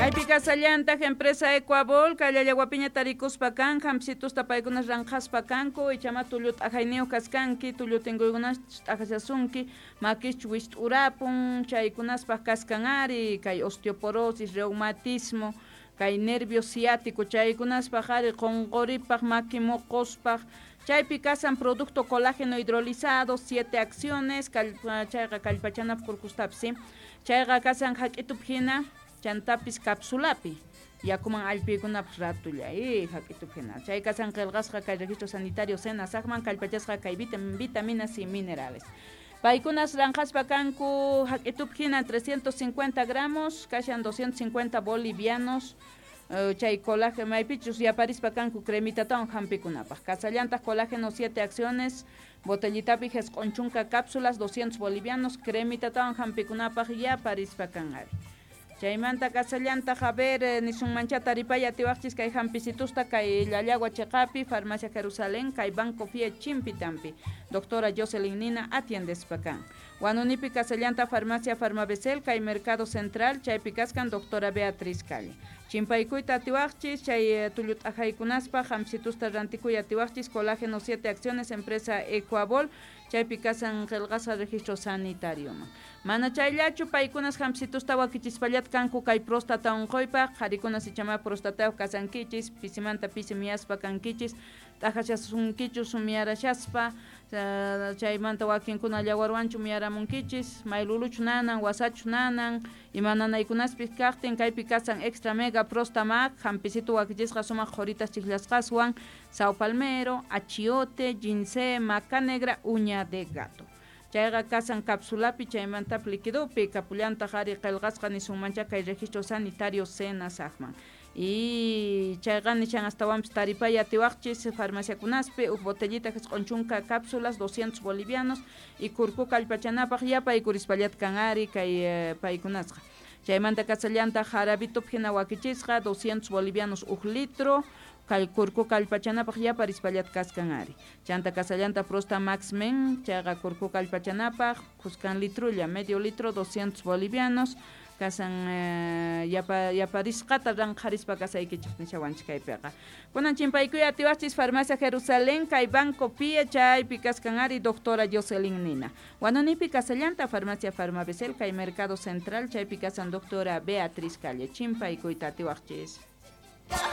Kaypi kasallantaq empresa Ecuabol, kay tarikuspa kan, hampsitusta paykunas ranqhaspa kanku, ichama tullu t'ajayniyuq kaskanki, tullu tinkuykunas t'ajashasunki, makischu wist'urapun, chaykunaspaq kaskan ari, kay osteoporosis, reumatismo, kay nervio ciático, chaykunaspaq ari qunquripaq, maki muquspaq, chaypi kasan producto colágeno hidrolizado, 7 acciones, chayqa kallpachanapaq kurkustapis, ¿sí? Chayqa kasan hak'itup hina, chantapis capsulapi, yakuman allpiykunapaq ratulla, hak'itup hina. Chay kasan qillqasqa kay registro sanitario SENASACman kallpachasqa kay vitaminas y minerales. Paykunas ranqhaspa kanku hak'itup hina 350 gramos, kashan 250 bolivianos, chay colágeno maypichus yaparispa kanku cremitatawan hampikunapaq. Kasallantaq colágeno 7 acciones, botellitapi 90 cápsulas, 200 bolivianos, cremitatawan hampikunapaq yaparispa kan ari. Chaymanta kasallantaq, a ver, nisunmancha taripaya atiwaqchis kay hampisitusta kay Llallagua cheqapi, Farmacia Jerusalén, kay Banco Fie Chimpitampi. Doctora Jocelyn Nina atiendespa kan. Huanunipi kasallanta Farmacia Farmabesel, kay Mercado Central, chaypi kaskan doctora Beatriz Calle. Chimpaykuyta atiwaqchis, chay tullu t'ajaykunaspaq hampisitusta rantikuy atiwaqchis, colágeno 7 acciones, empresa Ecuabol, chaypi kasan qillqasqa registro sanitarioman. Mana chayllachu paykunas hampisitusta wakichispallat kanku kay próstata unquypaq, qharikunas ichama prostatayuq kasankichis, pisimanta pisi miyaspa kankichis, t'ajashasunkichus miyarashaspa, chaymanta wakinkuna llawarwanchu miyaramunkichis, mayluluchu nanan, wasachu nanan, ima nanaykunaspis kaqtin kaypi kasan extra mega prostamac, hampisitu wakichisqa sumaq qhuritas chiklasqaswan, sao palmero, achiote, ginseng, maca negra, uña de gato. Chayqa kasan capsulapi chaymanta liquidopi kapullantaq ari qillqasqa nisunmancha kay registro sanitario SENASACman. Y chayqa nishan astawanpis taripay atiwaqchis farmaciakunaspi uj botellita 90 cápsulas 200 bolivianos y kurku kallpachanapaq yapaykurispallataj kan ari kay paykunasqa. Chaymanta kasallantaq jarabitup hina wakichisqa 200 bolivianos uj litro kay kurku kallpachanapaq yaparispallat kaskan ari. Chanta kasallanta Prosta Max Men, chayqa kurku kallpachanapaq kuskan litrulla, medio litro 200 bolivianos, kasan yaparisqata ranqharispa kasaykichik nishawanchik kaypiqa. Kunan chimpaykuy atiwaqchis Farmacia Jerusalén, kay Banco Pie, chaypi kaskan ari doctora Jocelyn Nina. Huanunipi kasallanta Farmacia Farmabesel, kay Mercado Central, chaypi kasan doctora Beatriz Calle. Chimpaykuyta atiwaqchis.